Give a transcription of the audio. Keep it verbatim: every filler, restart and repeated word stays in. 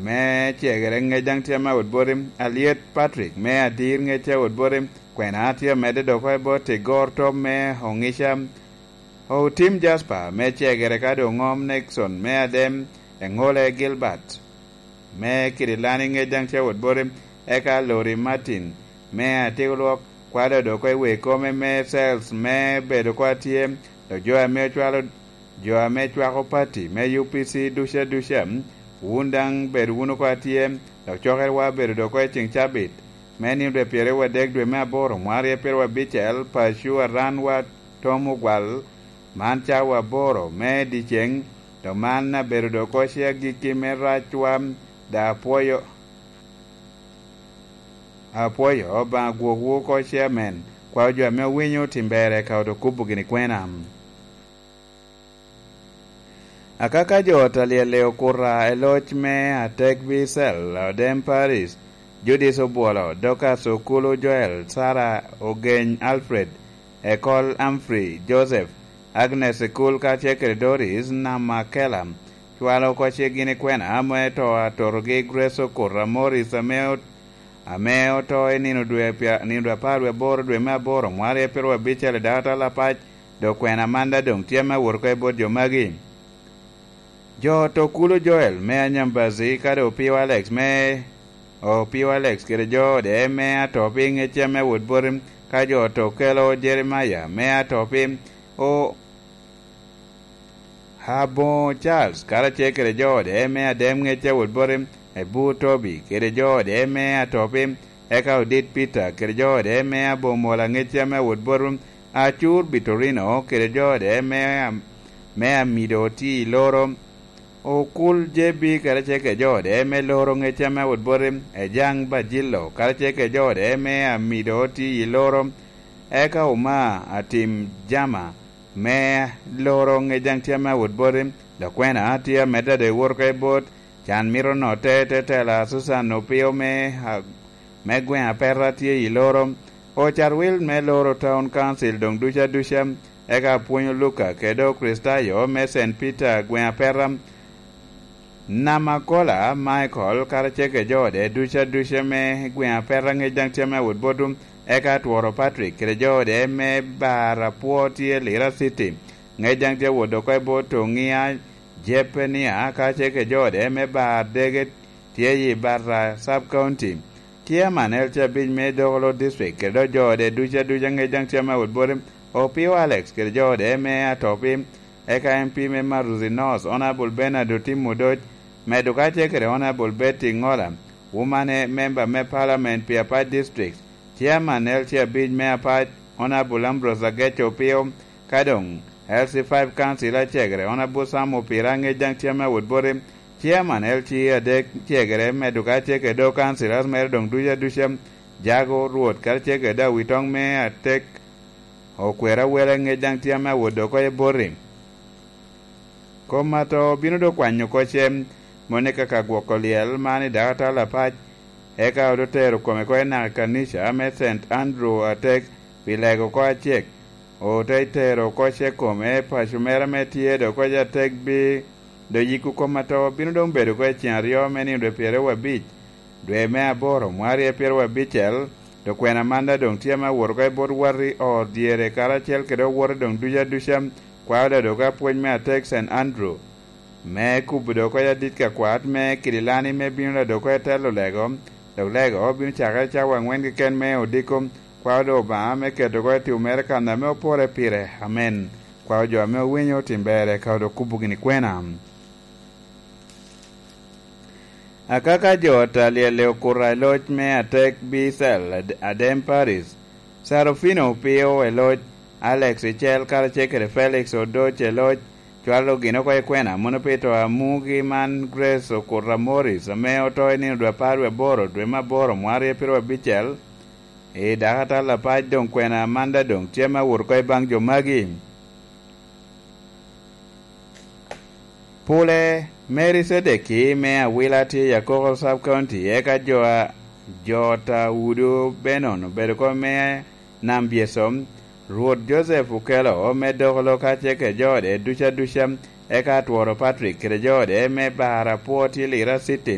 me cegere ŋec daŋ tye me awot boti, Alyet Patrick me adir ŋec tye awot boti, kwena tye amedde dok oko i bot Tigor Tom me Oŋica, Otim Jasper me cegere ka doŋ ŋom Nixon me adem, Eŋole Gilbert me Kirilani ŋec daŋ tye awot boti, eka Lori Martin me Atigolwok, kwalo dok oko i wek kome me Sales me bedo oko atye, dok jo ame ocwalo jo ame cwako pati me U P C duca duca, wun daŋ bed wunu oko atye, dok cokerewa bedo dok oko i ceŋ cabit me nino dwe pyeraryo wadek dwe me aboro mwaka aryo pyeraryo abicel, paco aran wa tom ogwal, man cawa aboro me dyeceŋ, dok man abedo dok oko ce agikki me racwa, da apwoyo, apwoyo Obaŋa gwokwu oko ce amen, kwao jo ame owinyo tim ber eka odo kubo gini kwena. Akaka jo ot alyel i okuta i loc me Atek Bisel, Odem Paris, Judith Obwolo, Dorcas Okulu Joel, Sarah Ogeny Alfred, Ekol Humphrey Joseph, Agnes Ekul kacel kede Doris Namakela, cwalo oko ce gini kwena ame to atotogi Grace Okuta Morris ame ot-, ame oto i nino dwe pya-, nino dwe apar wie aboro dwe me aboro mwaka aryo pyeraryo abicel i dakatal apac, dok kwena manda doŋ tye me awot oko i bot jo magi. Jo oto Kulu Joel me Anyambazi kadi Opio Alex me, Opio Alex kede jo ode me ato pi ŋecce me wot boti, ka jo oto Kelo Jeremaya me ato pi o-, Aboŋo Charles karacel kede jo ode me adem ŋecce wot boti, Ebu Tobi kede jo ode me ato pi, eka Odit Peter kede jo ode me Aboŋo Mola ŋecce me wot boti, Acur Bitorino kede jo ode me, me Amido Oti Loro, Okul J B karacel kede jo ode me Loro ŋecce me wot boti, Ejaŋ Bajillo karacel kede jo ode me Amido Oti Loro, eka Oma Atim Jama me Loro ŋec daŋ tye ame awot boti, dok kwena tye amedde ado i wot oko i bot, can mito notte te tela Susan Opio me, a-, me gweŋ Apeta tye i Loro, Ocar Wil me Loro Town Council doŋ duca duca, eka apwonyo Luka kede Okricitayo me Saint Peter gweŋ Apeta, Namakola Michael karacel kede jo ode duca duca me gweŋ Apeta ŋec daŋ tye ame awot botwu, eka Tworo Patrick kede jo ode me bar apwo tye Lira City, ŋec daŋ tye awot oko i bot Oŋia Jepenia karacel kede jo ode me bar dege tye i Barra Sub County. Chairman L C abic me Dokolo District kede dok jo ode duca duca ŋec daŋ tye ame awot boti, Opio Alex kede jo ode me Atopi, eka M P me Maruzi North, Honorable Bernard Otim Odoc, medo kacel kede Honorable Betty Ngola, Woman member me Parliament pi Apac District, Chairman L C abic me Apac, Honorable Ambrose Ageco Opio, ka doŋ L C five Council acegere, Honorable Sam Opira ŋec daŋ tye ame awot boti, Chairman L C adek cegere, medo kacel kede dok Councilors mere doŋ duca duca, Jago Rwot kacel kede Awitoŋ me Atek, Okwera Wele ŋec daŋ tye ame awot oko i boti. Kom ato bino dok kwanyo oko cem, moni kaka gwoko lyel man i dakatal apac, eka ote tero kome oko i naka kanica me Saint Andrew Atek pi lego oko acek, ote tero oko ce kome i paco mere ame tye dok oko i Atek bi, dok yiko kom ato bino doŋ bedo oko i cen aryo me nino dwe pyeraryo abic, dwe me aboro, mwaka aryo pyeraryo abicel, dok kwena manda doŋ tye ame awot oko i bot wati ot dyere karacel kede owote doŋ duca duca, kwao da dok apwony me Atek Saint Andrew, me kubo dok oko i adit ka kwat me Kirilani me bino da dok oko i telo lego, dok lego bino cakere cawa aŋwen keken me odiko, kwao da Obaŋa me keto oko i tim mere kan ame opore pire. Amen. Kwao jo ame owinyo otim ber, eka odo kubo gini kwena. Akaka jo ot alyel i okuta i loc me Atek Bisel, Ad-, Adem Paris, Sarofino Opio i loc, Alex Icel karacel kede Felix Odoc i loc, cwalo gin oko i kwena mono pi to amugi man Grace Okuta Morris, ame oto i nino dwe apar wie aboro, dwe me aboro, mwaka aryo pyeraryo abicel, i dakatal apac doŋ kwena manda doŋ tye me awot oko i baŋ jo magi. Pule, Mary Cedeki me Awila tye i Akoko Sub County, eka jo a, jo ta Udo Benon obedo oko me Nam Byesom, Rwot Joseph Okelo me Dokolo kacel kede jo ode duca duca, eka Atworo Patrick kede jo ode me Bar Apwo tye Lira City,